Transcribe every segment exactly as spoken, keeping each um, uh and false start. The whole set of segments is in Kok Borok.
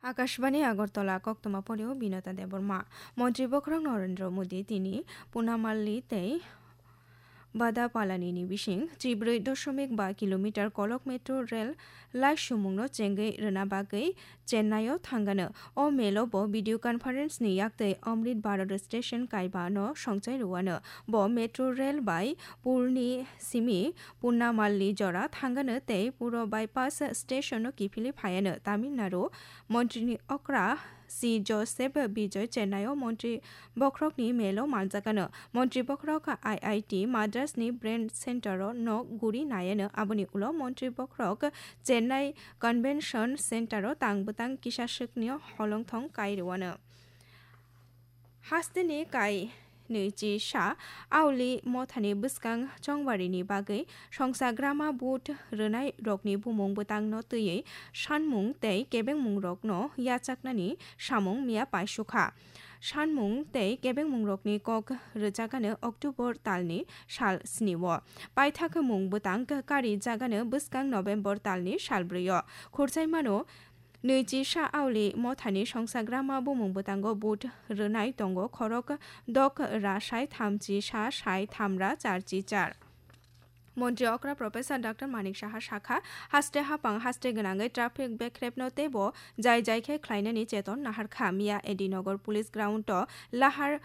Akashbani Agartala, koktwma porio Binata Debbarma. Montri bokhorok Narendra Modi tini Punamalli tei Badapalani ni bising chibrwi dosomik ba kilometer kolok metro rail laisumungno chengwi rwna bagwi Chennai o thangano. O melo bo video conference ni yaktwi Amrit Bharat Station kaiba no songchai rwano. Bo metro rail bai pulni simi Punamalli jora thangano tei puro bypass station no kiphilwi phaiano. Tamil Nadu montri ni okra C Joseph Bijoy Chennai o montri bokhorok ni melo manjakano. Montri bokhorok I I T Madras ni Brain Center o nok guri naiano. Aboni ulo montri bokhorok Chennai Convention Center o tang bwtang kisa swkni holongthong kai rwano. Hasteni kai nwichi sa auli mothani bwskang chongbarini bagwi songsa grama vote rwnai rokni bumung bwtangno twiwi sanmung tei kebengmung rokno yachaknani samung miya paisukha. Sanmung tei kebengmung rokni kok rwjakano October talni sal sni o. Paithak mung bwtang kari jagano bwskang November talni sal brwi o. Khurchaimano nwichi sa auli mothani songsa grama bumung bwtango vote rwnai tongo khorok dok ra sai thamchi sa sai tham ra charchi char. Montri okra Professor Doctor Manik Saha sakha, haste hapang haste gwnangwi traffic bekrepno teibo jai jai khe khlainani cheton naharkha. Miya A D Nagar Police Ground o lahar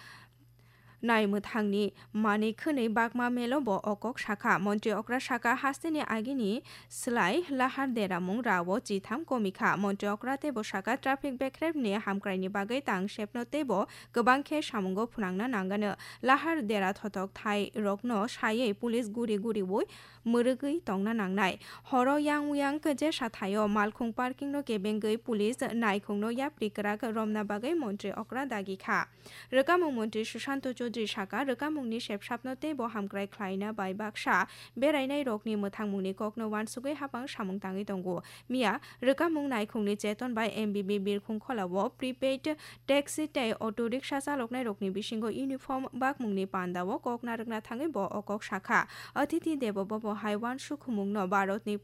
nai mwthangni manwi khwnwi bakma melo bo o kok sakha. Montri okra sakha, hasteni agini slai lahar deramung rao chitham komikha. Montri okra teibo sakha, traffic bekrepni hamkraini bagwi tang sepno teibo kwbang khe samungo phunangna nangano. Lahar dera thothok thai rokno saywi police guri guriwi mwrwgwi tongna nangnai. Horo yang uyang jesa thaio malkhung parking no kebengwi police naikhungno yapri kwrak romna bagwi montri okra dagi kha. Rwkamung montri Sushanto Chaudhary sakha, rwkamungni sepsapno teibo hamkrai khlaina bai baksa berainai rokni mwthangmungni kokno uansugwi hapang samung tangwi tongo. Miya rwkamung naikhungni cheton bai M B B birkhung kholao prepaid taxi tei auto rickshaw chaloknai rokni bisingo uniform bakmungni pandao kok narwkna thangwi bo o kok sakha. Atithi Devo Bhavo hai uansukhumungno Bharatni